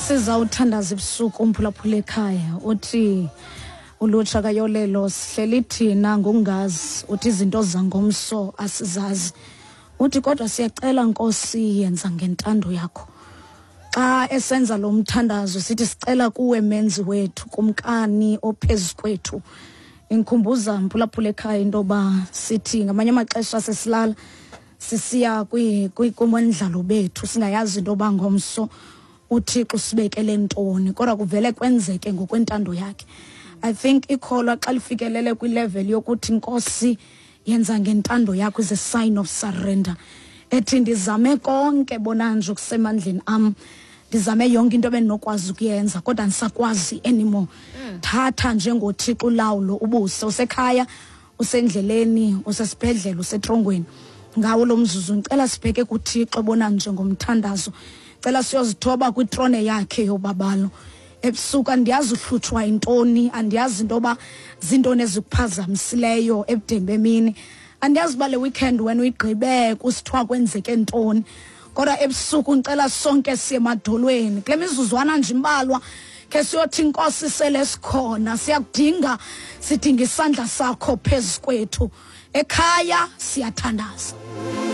Sizawuthandaza ebusuku, umphulaphula ekhaya. Uthi ulutsha kayolelo, sihleli thina ngokungazi, uthi izinto zangomso asizazi, uthi kodwa siyacela, Nkosi, yenza ngentando yakho. Xa esenza lo mthandazo sithi sicela kuwe, Menzi wethu, Kumkani ophezu kwethu. Ingikhumbuza, mphulaphula ekhaya, into yoba sithi ngamanye amaxesha sesilala sisiya kumondlalo bethu singayazi into yoba ngomso uThixo usibekele ntoni, kodwa kuvele kwenzeke ngokwentando yakhe. I think ikholwa xa lifikelele kwilevel yokuthi, "Nkosi, yenza ngentando yakho," is a sign of surrender, ethi ndizame konke bona nje okusemandleni am, ndizame yonke into ebendinokwazi ukuyenza, kodwa andisakwazi anymore. Thatha njengoThixo ulawulo, ubuse. Usekhaya, usendleleni, usesibhedlele, usetrongweni, ngawo lo mzuzu ndicela sibheke kuThixo bona njengomthandazo. Cela siyozithoba kwitrone yakhe yobabalo ebusuku. Andiyazi uhlutshwa yintoni, andiyazi into yoba zintoni ezikuphazamisileyo ebudeni bemini, andiyazi uba le weekend wena uyigqibe kusithiwa kwenzeke ntoni, kodwa ebusuku ndicela sonke siye emadolweni kule mizuzwana nje imbalwa, ke siyothi, "Inkosi, sele sikhona, siyakudinga, sidinga isandla sakho phezu kwethu." Ekhaya siyathandaza.